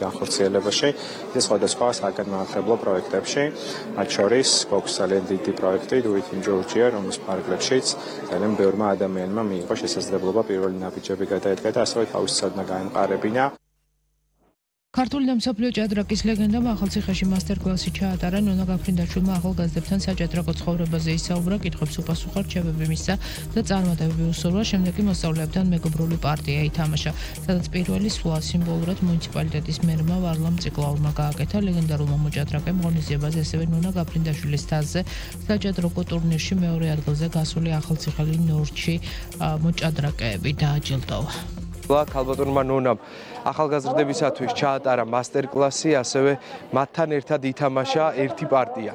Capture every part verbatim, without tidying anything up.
განხორციელებაში, ის სხვადასხვა საგანმანათლებლო პროექტებში, მათ შორის გვაქვს ძალიან დიდი პროექტი Do It in Georgia, რომლის ფარგლებშიც ძალიან ბევრმა ადამიანმა მიიღო შესაძლებლობა პირველი ნაბიჯები გადაედგა და ასევე თავისი ცოდნა გაემყარებინა. ქართული და მსოფლიო ჭადრაკის ლეგენდამ ახალციხეში მასტერკლასი ჩაატარა. ნონა გაფრინდაშვილმა ახალგაზრდებთან საჭადრაკო ცხოვრებაზე ისაუბრა, კითხვებს უპასუხა, რჩევები მისცა და წარმატებები უსურვა. შემდეგ კი მოსწავლეებთან მეგობრული პარტია ითამაშა, სადაც პირველი სვლა სიმბოლურად მუნიციპალიტეტის მერმა ვარლამ ციკლაურმა გააკეთა. ლეგენდარულმა მოჭადრაკემ ღონისძიებაზე ასევე ნონა გაფრინდაშვილის თასზე საჭადრაკო ტურნირში მეორე ადგილზე გასული ახალციხელი ნორჩი მოჭადრაკეები დააჯილდოვა. ქალბატონმა ნონამ ახალგაზრდებისათვის ჩაატარა მასტერკლასი, ასევე მათთან ერთად ითამაშა ერთი პარტია.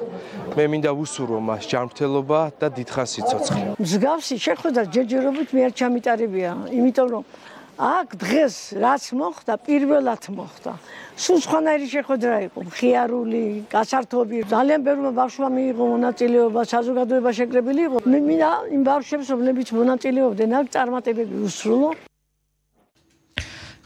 მე მინდა ვუსურვო მას ჯანმრთელობა და დიდხანს სიცოცხლე. მსგავსი შეხვედრა ჯერჯერობით მე არ ჩამიტარებია, იმიტომ რომ აქ დღეს რაც მოხდა, პირველად მოხდა. სულ სხვანაირი შეხვედრა იყო, მხიარული, გასართობი. ძალიან ბევრმა ბავშვმა მიიღო მონაწილეობა, საზოგადოება შეკრებილი იყო. მე მინდა იმ ბავშვებს, რომლებიც მონაწილეობდნენ, აქ წარმატებები უსრულო.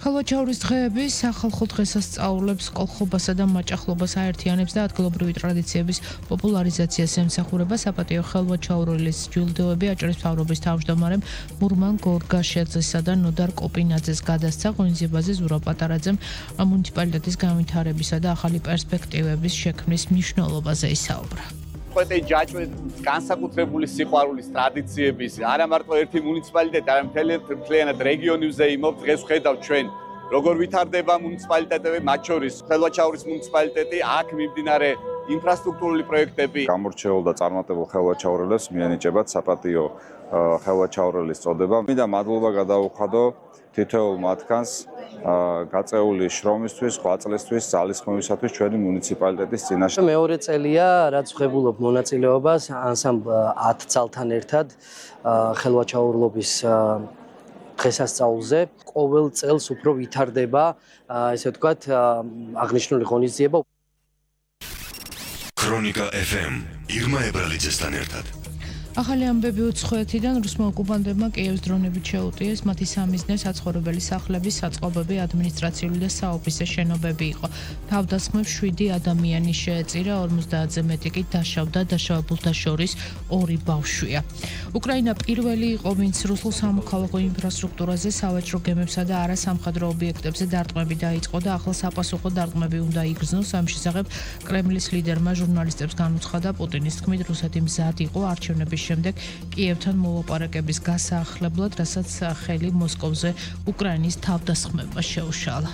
ხალვაჩაურის დღეები სახალხო დღესასწაულებს, კოლხობასა და მაჭახლობას აერთიანებს და ადგილობრივი ტრადიციების პოპულარიზაციას ემსახურება. საპატიო ხალვაჩაურილის ჯილდოები აჭარის მთავრობის თავმჯდომარემ მურმან გორგაშიძესა და ნოდარ კოპინაძეს გადასცა. ღონისძიებაზე ზურაბ პატარაძემ მუნიციპალიტეტის განვითარებისა და ახალი პერსპექტივების შექმნის მნიშვნელობაზე ისაუბრა. Poate ჯაჭვე განსაკუთრებული სიყვარულის ტრადიციების არა მარტო ერთი მუნიციპალიტეტი, არამედ მთლიანად რეგიონი ვზეიმობ. დღეს ვხედავ ჩვენ როგორ ვითარდება მუნიციპალიტეტები, მათ შორის ხელვაჩაურის მუნიციპალიტეტი, აქ მიმდინარე ინფრასტრუქტურული პროექტები. გამორჩეულ და წარმატებულ ხელვაჩაურელებს მიენიჭებათ საპატიო ხელვაჩაურელის წოდება. მინდა მადლობა გადავუხადო თითოეულ მათგანს გაწეული შრომისთვის, ღვაწლისთვის, ძალისხმევისათვის ჩვენი მუნიციპალიტეტის წინაშე. მეორე წელია, რაც ვღებულობ მონაწილეობას ანსამბლ ათ ძალთან ერთად ხელვაჩაურლობის დღესასწაულზე. ყოველ წელს უფრო ვითარდება, ესე ვთქვათ, აღნიშნული ღონისძიება. ქრონიკა ეფ ემ ირმა ებრალიძესთან ერთად. ახალი ამბები უცხოეთიდან რუსმა ოკუპანტებმა კიევის დრონებით შეუტიეს. მათი სამიზნე საცხოვრებელი სახლების, საწყობები, ადმინისტრაციული და საოფისე შენობები იყო. თავდასხმებს შვიდი ადამიანი შეეწირა, ორმოცდაათზე მეტი კი დაშავდა, დაშავებულთა შორის ორი ბავშვია. უკრაინა პირველი იყო, ვინც რუსულ სამოქალაქო ინფრასტრუქტურაზე, სავაჭრო გემებსა და არასამხედრო ობიექტებზე დარტყმები დაიწყო და ახლა საპასუხო დარტყმები უნდა იგრძნოს. ამ შესახებ კრემლის ლიდერმა ჟურნალისტებს განუცხადა. პუტინის თქმით, რუსეთი მზად იყო არჩევნების შემდეგ კიევთან მოლაპარაკების გასაახლებლად, რასაც ხელი მოსკოვზე უკრაინის თავდასხმებმა შეუშალა.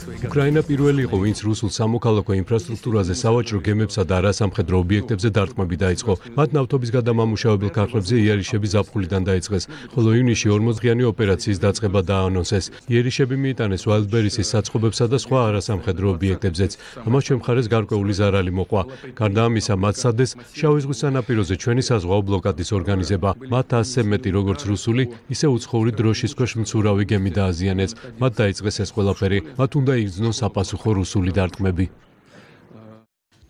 უკრაინა პირველი იყო, ვინც რუსულ სამოქალაქო ინფრასტრუქტურაზე, სავაჭრო გემებსა და არასამხედრო ობიექტებზე დარტყმები დაიწყო. მათ ნავთობის გადამამუშავებელ ქარხნებზე იერიშები ზაფხულიდან დაიწყეს, ხოლო ივნისში ორმოძღიანი ოპერაციის დაწყება დაანონსეს. იერიშები მიიტანეს ვალდბერისის საწყობებსა და სხვა არასამხედრო ობიექტებზეც. ამას ჩვენ მხარეს გარკვეული ზარალი მოყვა. გარდა ამისა, მათ სადეს შავი ზღვის სანაპიროზე ჩვენი საზღვაო ბლოკადის ორგანიზება. მათ ასზე მეტი როგორც რუსული, ისე უცხოური დროშის ქვეშ მცურავი გემი დააზიანეს. მათ დაიწყეს ეს ყველაფერი. მათ უნდა იგრძნოს საპასუხო რუსული დარტყმები.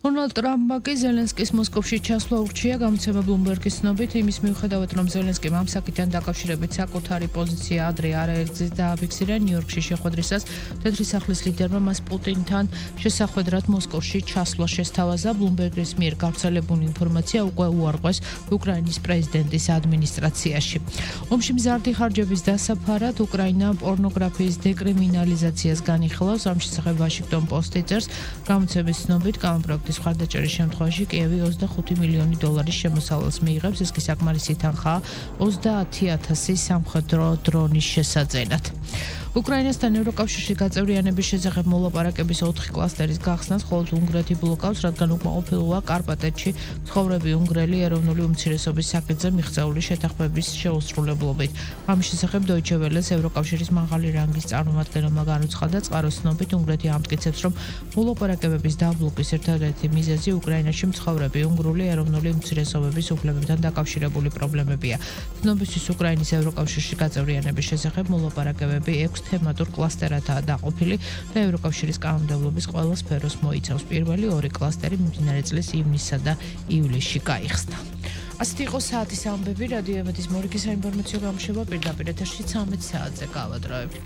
დონალდ ტრამპმა კი ზელენსკის მოსკოვში ჩასვლა ურჩია. გამოცემა ბლუმბერგის ცნობით, იმის მიუხედავად, რომ ზელენსკიმ ამ საკითხთან დაკავშირებით საკუთარი პოზიცია ადრე არაერთგზის დააფიქსირა, ნიუ-იორკში შეხვედრისას თეთრი სახლის ლიდერმა მას პუტინთან შესახვედრად მოსკოვში ჩასვლა შესთავაზა. ბლუმბერგის მიერ გავრცელებული ინფორმაცია უკვე უარყვეს უკრაინის პრეზიდენტის ადმინისტრაციაში. ომში მზარდი ხარჯების დასაფარად უკრაინა პორნოგრაფიის დეკრიმინალიზაციას განიხილავს. ამ შესახებ ვაშინგტონ პოსტი წერს. გამოცემის ცნობით, გამოპროექტის მხარდაჭერის შემთხვევაში კიევი ოცდახუთი მილიონი დოლარის შემოსავალს მიიღებს. ეს კი საკმარისი თანხაა ოცდაათი ათასი სამხედრო დრონის შესაძენად. უკრაინასთან ევროკავშირში გაწევრიანების შესახებ მოლაპარაკების ოთხი კლასტერის გახსნას მხოლოდ უნგრეთი ბლოკავს, რადგან უკმაყოფილოა კარპატეთში მცხოვრები უნგრელი ეროვნული უმცირესობის საკითხზე მიღწეული შეთანხმების შეუსრულებლობით. ამის შესახებ დოიჩე ველეს ევროკავშირის მაღალი რანგის წარმომადგენელმა განუცხადა. წყაროს ცნობით, უნგრეთი ამტკიცებს, რომ მოლაპარაკებების დაბლოკვის ერთადერთი მიზეზი უკრაინაში მცხოვრები უნგრული ეროვნული უმცირესობების უფლებებთან დაკავშირებული პრობლემებია. ცნობისთვის უკრაინის ევროკავშირში გაწევრიანების შესახებ მოლაპარაკებები ექვს თემატურ კლასტერადაა დაყოფილი და ევროკავშირის კანონმდებლობის ყველა სფეროს მოიცავს. პირველი ორი კლასტერი მიმდინარე წლის ივნისსა და ივლისში გაიხსნა. ასეთი იყო საათის ამბები. რადიო ემედის მორიგი საინფორმაციო გამოშვება პირდაპირ ეთერში ცამეტ საათზე გავადროებით.